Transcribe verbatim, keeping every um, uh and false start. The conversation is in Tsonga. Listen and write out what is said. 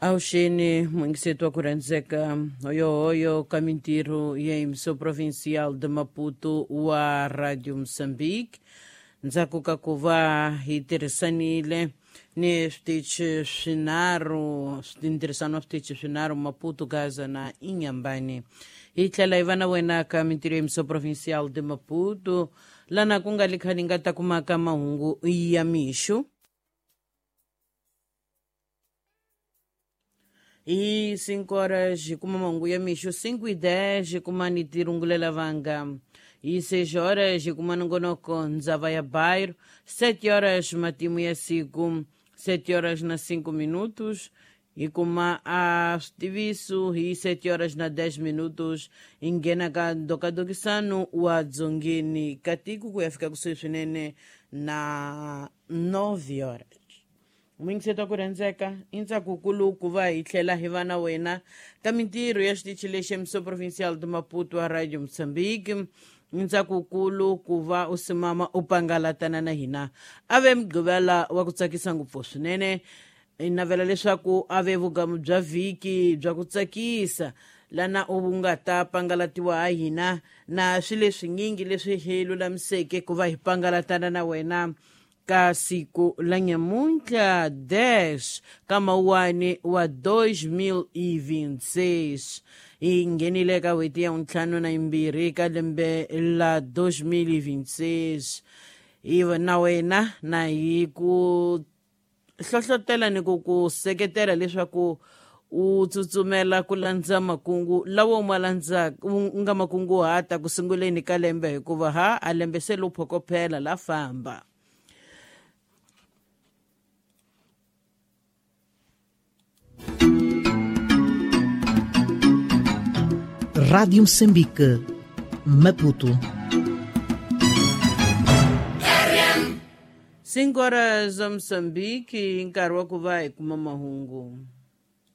Avuxeni muyingiseti wa ku rhandzeka hoyohoyo ka mintirho ya Emissão Provincial de Maputo wa Radio Moçambique. Ndzhaku ka ku va hi tirhisanile ni switichi swinharhu, ntirhisano wa switichi swinharhu Maputo, Gaza na Inhambane, hi tlhela hi va na wena ka mintirho ya Emissão Provincial de Maputo, lana ku nga li khale nga ta kumaka mahungu ya mixo hi cinco horas hi kuma mahungu ya mixo, cinco e dez hi kuma ni tirungulela vanga, hi seis horas hi kuma nongonoko ndzava ya bairro, sete horas matimu ya siku, sete horas na cinco minutos hi kuma a switiviso, hi sete horas na dez minutos hi nghena ka ndokadokisano wa dzongeni ka tiko ku ya fika kusuhi swinene na nove horas. Muyingiseti wa ku rhandzeka i ntsakukulu ku va hi tlhela hi va na wena ka mintirho ya xitichi lexi Emissão Provincial de Maputo wa Radio Moçambique. I ntsakukulu ku va u simama u pangalatana na hina a ve mugqivela wa ku tsakisa ngopfu swinene. Hi navela leswaku a ve vugamu bya vhiki bya ku tsakisa lana u nga ta pangalatiwa ha hina na swilo leswinyingi leswi hi lulamiseke ku va hi pangalatana na wena ka siku la nyamuntlha dez ka mawuwani wa dois mil e vinte e seis. Hi nghenile ka n'hweti ya ntlhanu na yimbirhi ka lembe la dois mil e vinte e seis. Hi na wena na hi ku hlohlotela ni ku ku seketela leswaku u tsutsumela ku landza makungu lawa u ma landzaka, u nga makunguhata ku sunguleni ka lembe, hikuva ha a lembe se lo phokophela la famba. Rádio Moçambique, Maputo. Cinco horas a Moçambique, nkarhi wa ku va hi kuma mahungu.